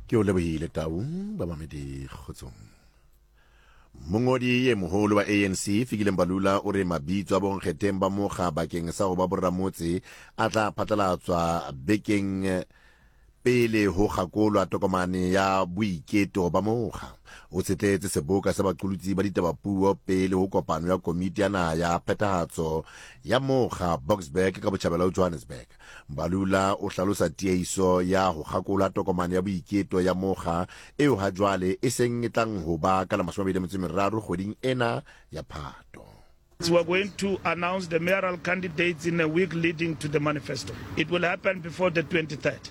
Ke o lebohile Tau, bamamedi kgotsong. Mongodi e moholo wa ANC Fikile Mbalula o re mabitso a bonkgetheng ba mokga bakeng sa go ba borramotse a tla phatlalatswa bekeng pele ho kgakolwa tokomane ya boiketo ba mokga. O tshetletse seboka sa baqolotsi ba ditabapuo pele ho kopano ya komiti ya naha ya phethahatso ya mokga Boksburg ka botjhabela ho Johannesburg. Mbalula o hlalosa tiehiso ya ho kgakola tokomane ya boiketo ya mokga eo ha jwale e seng e tlang ho ba ka la 23 kgweding ena ya Phato. We are going to announce the mayoral candidates in a week leading to the manifesto. It will happen before the 23rd.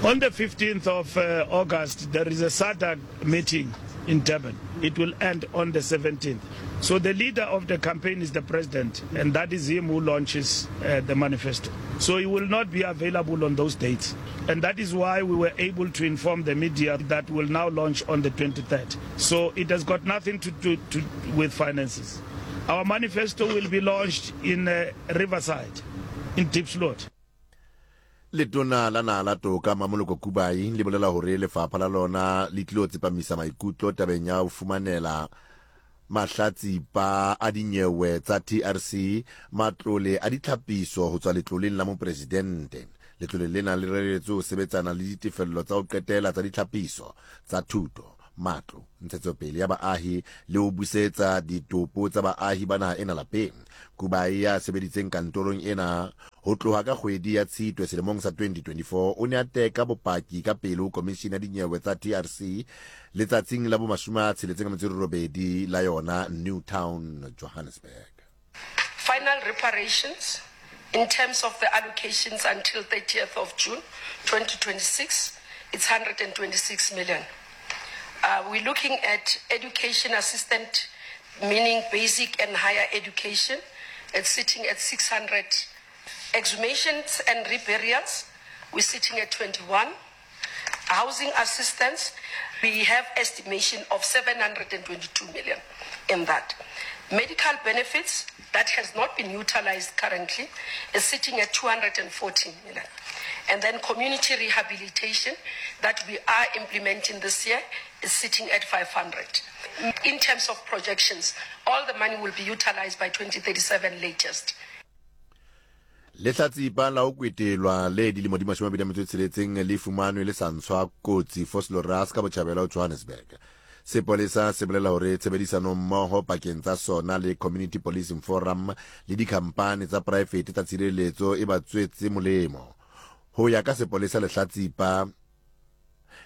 On the 15th of uh, August, there is a SADC meeting in Durban. It will end on the 17th. So the leader of the campaign is the president, and that is him who launches uh, the manifesto. So he will not be available on those dates. And that is why we were able to inform the media that will now launch on the 23rd. So it has got nothing to do to, with finances. Our manifesto will be launched in uh, Riverside, in Diepsloot. Letona la Naha la Toka, Mamoloko Kubayi, le bolela hore lefapha la lona le tlilo tsepamisa maikutlo tabeng ya ho fumanela mahlatsipa a dinyewe tsa TRC matlole a ditlhapiso ho tswa letloleng la mopresidente. Letlole lena le reretswe ho sebetsana le ditefello tsa ho qetela tsa ditlhapiso tsa thuto, matlo, ntshetsopele ya baahi le ho busetsa ditopo tsa baahi ba naha ena lapeng. Kubayi ya sebeditseng kantorong ena ho tloha ka kgwedi ya Tshitwe selemong sa 2024 o ne a teka bopaki ka pele ho komishini ya dinyewe tsa TRC letsatsing la bo 68 la yona Newtown, Johannesburg. Final reparations in terms of the allocations until 30th of June 2026, it's 126 million. Uh, we're looking at education assistant, meaning basic and higher education. It's sitting at 600. Exhumations and reburials, we're sitting at 21. Housing assistance, we have estimation of 722 million in that. Medical benefits that has not been utilized currently is sitting at 214 million. And then community rehabilitation that we are implementing this year is sitting at 500. In terms of projections, all the money will be utilized by 2037 latest. Lehlatsipa la ho kwetelwa le dilemo di 26 le fumanwe le sa ntshwa kotsi Vosloorus ka botjhabela ho Johannesburg. Sepolesa se bolela hore tshebedisanommoho pakeng tsa sona le Community Policing Forum le dikhampani tsa poraefete tsa tshireletso e ba tswetse molemo. Ho ya ka sepolesa lehlatsipa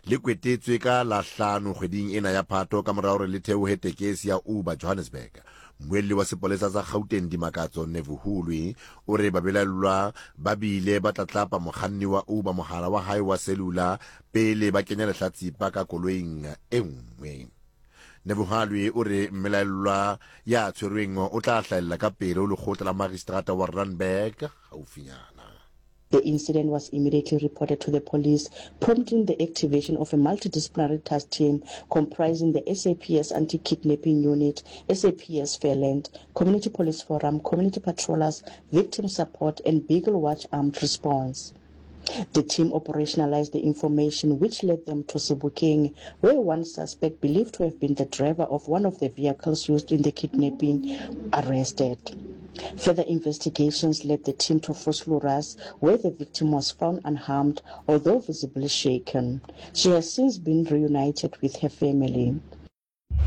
le kwetetswe ka la hlano kgweding ena ya Phato ka mora hore le theohe tekesi ya Uber Johannesburg. Mmuelli wa sepolesa sa Gauteng Dimakatso Nevuhulwi o re babelaellwa ba bile ba tlatlapa mokganni wa Uber mohala wa hae wa selula pele ba kenya lehlatsipa ka koloing e nngwe. Nevuhalwi o re mmelaellwa ya tshwerweng o tla hlahella ka pele ho lekgotla la magistrata wa Randburg haufinyana. The incident was immediately reported to the police, prompting the activation of a multidisciplinary task team comprising the SAPS Anti-Kidnapping Unit, SAPS Fairland, Community Police Forum, Community Patrollers, Victim Support and Beagle Watch Armed Response. The team operationalized the information which led them to Sebokeng, where one suspect believed to have been the driver of one of the vehicles used in the kidnapping arrested. Further investigations led the team to Vosloorus, where the victim was found unharmed, although visibly shaken. She has since been reunited with her family.